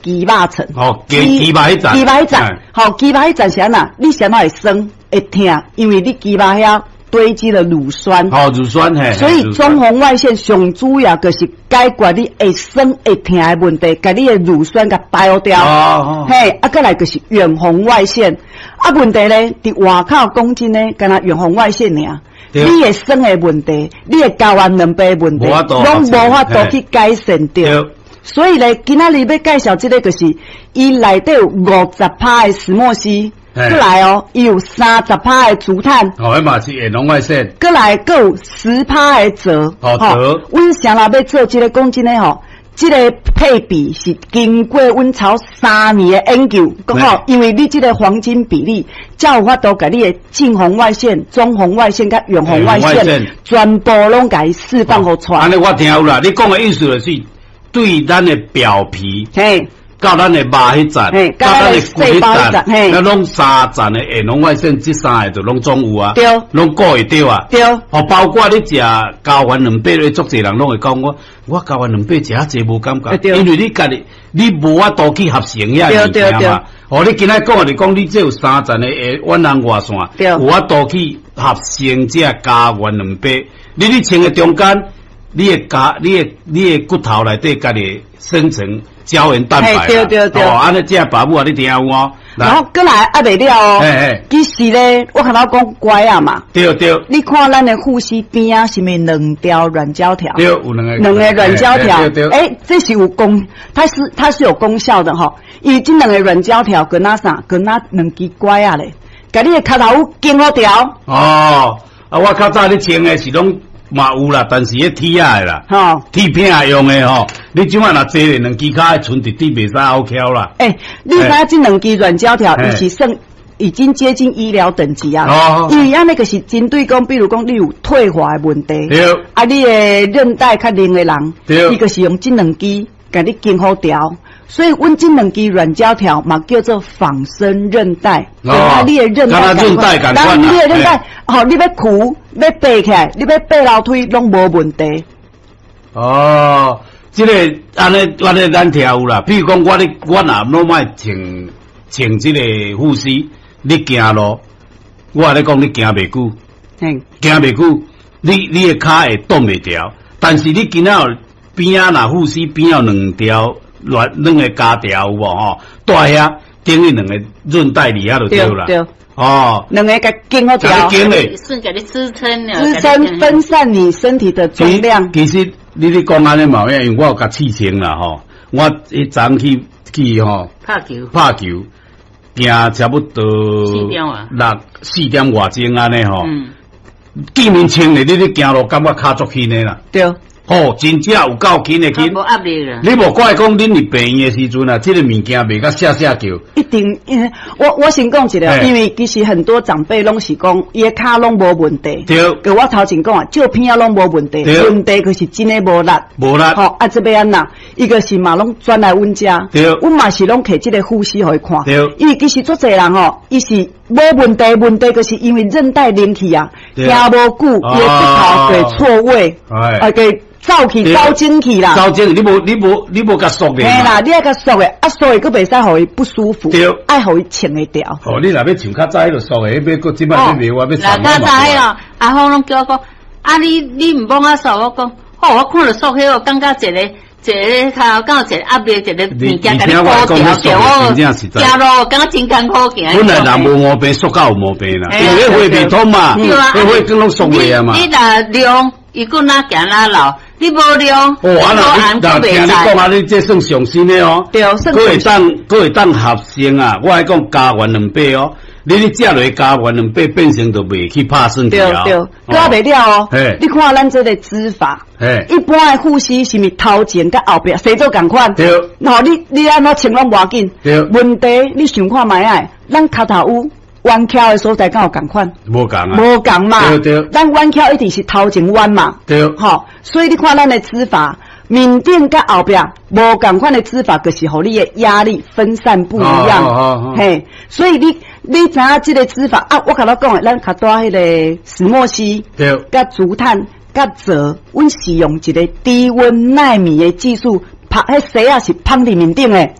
肌肉層。哦，肌肉彼層。肌肉彼層，吼，肌肉彼層是按怎？你啥物會酸會疼？因為你肌肉遐堆積了乳酸。哦，乳酸嘿。所以中紅外線上主要就是解決你會酸會疼的問題，共你的乳酸共排掉。嘿，啊，閣來就是遠紅外線。啊，問題咧，佇外口講真的，干焦遠紅外線爾。你的酸的問題，你的膠原蛋白的問題，攏無法度去改善著。所以咧，今仔日欲介紹這个，就是伊內底有50趴的石墨烯，閣來哦，伊有30趴的竹炭。哦，彼嘛是遠紅外線。閣來閣有10趴的鍺。哦，鍺。阮啥人欲做這个講真的吼，這个配比是經過阮超3年的研究，講吼，因為你這个黃金比例，才有法度共你的近紅外線、中紅外線佮遠紅外線，全部攏共伊釋放予出來。按呢我聽有啦，你講的意思就是對咱的表皮，到咱的肉彼層，到咱的骨彼層，咱攏三層的遠紅外線，這三个就攏總有啊，攏顧會著啊。哦，包括你食膠原蛋白的，足濟人攏會講我，我膠原蛋白食遮濟無感覺，因為你家己你無法度去合成遐物件嘛。哦，你今仔講的就講你這有三層的遠紅外線，有法度去合成這膠原蛋白，你咧穿的中間，你的骨頭內底家己生成膠原蛋白。對對對。哦，按呢這爸母啊，你聽有哦。然後閣來猶未了哦。其實咧，我頭講拐仔嘛。對對。你看咱的護膝邊仔是毋是兩條軟膠條？對，有兩個。兩个軟膠條。欸，這是有功，它是有功效的吼。因為這兩个軟膠條跟那啥，跟那兩支拐仔咧，共你的跤頭趺緊好牢。哦，啊，我較早咧穿的是攏嘛有啦，但是彼鐵仔的啦，鐵片用的吼。你這擺若坐咧兩支跤，賰直直袂使拗蹺啦。欸，你知影這兩支軟膠條，伊是算已經接近醫療等級啊。因為按呢個是針對講，比如講你有退化的問題，啊，你的韌帶較軟的人，伊就是用這兩支共你緊好牢。所以，阮這兩支軟膠條嘛叫做仿生韌帶。啊，你的韌帶，當你的韌帶，吼，你欲跍，欲爬起來，你欲爬樓梯，攏無問題。哦，這个按呢按呢，咱聽有啦。比如講，我咧，我若攏愛穿穿這个護膝，你行路，我咧講你行袂久，行袂久，你的跤會擋袂牢。但是你今仔邊仔若護膝邊有兩條軟兩个膠條有無吼？蹛遐等於兩个韌帶佇遐就對啦。對。哦，兩个共緊好牢。緊咧，算共你支撐了。支撐分散你身體的重量。其實你咧講按呢嘛，因為我有共試穿啦吼。我彼昨去去吼拍球，拍球，行差不多六四點外鐘按呢吼。見面穿咧，你咧行路感覺跤足輕的啦。對。吼，真正有夠輕的輕。無壓力啦。你無怪講，恁佇病院的時陣啊，這个物件賣甲寫寫叫。一定，因為我先講一下，因為其實很多長輩攏是講，伊的跤攏無問題。佮我頭前講啊，照片仔攏無問題，問題就是真的無力。無力。吼，啊，這欲按怎？伊就是嘛攏轉來阮遮。阮嘛是攏提這个護膝予伊看。因為其實足濟人吼，伊是無問題，問題就是因為韌帶連去啊，行無久，伊的骨頭會錯位，啊，會走去走精去啦，走精，你無共束的。嘿啦，你愛共束的，啊束的閣袂使予伊不舒服，愛予伊穿會牢。哦，你若欲像較早彼个束的，彼閣這擺欲袂，我欲。若較早彼个阿峰攏叫我講，啊你毋幫我束，我講，好，我看著束彼個，感覺一个一个跤，敢有一个壓力，一個物件共你箍牢著，我行路感覺真艱苦行。本來人無毛病，束到有毛病啦，因為血袂通嘛，血血管攏束袂啊嘛。你若量，伊閣哪行哪老。你無量，哦，啊，若聽你講啊，你這算上新的哦，對，閣會當閣會當合成啊！我愛講膠原蛋白哦，你咧食落膠原蛋白變成就袂去拍損對對，閣袂了哦。你看咱這个指法，一般的護膝是毋是頭前佮後壁生做仝款？對。吼，你按怎穿攏無要緊。對。問題你想看覓仔？咱跤頭趺彎翹的所在敢有仝款？無仝啊！無仝嘛。對對。咱彎翹一定是頭前彎嘛。對。吼，所以你看咱的指法，面頂佮後壁無仝款的指法，就是予你的壓力分散不一樣。嘿，所以你知影這个指法啊？我共你講的，咱較帶彼个石墨烯，佮竹炭、佮鍺，阮是用一个低溫奈米的技術，拍彼絲仔是捧佇面頂的。